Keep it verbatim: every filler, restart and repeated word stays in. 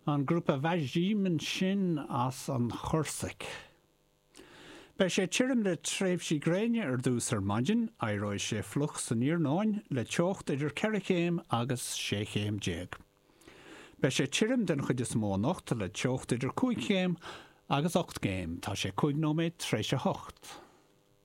An grúpa Vajim ansin as an Chorsaic. Beidh sé tirim le tréimhsí gréine ar dtús ar maidin, éireoidh sé fliuch san iarnóin le teocht idir ceithre chéim agus sé chéim déag. Beidh sé tirim den chuid is mó anocht le teocht idir cúig chéim agus ocht gcéim, tá sé cúig nóiméad tar éis a hocht.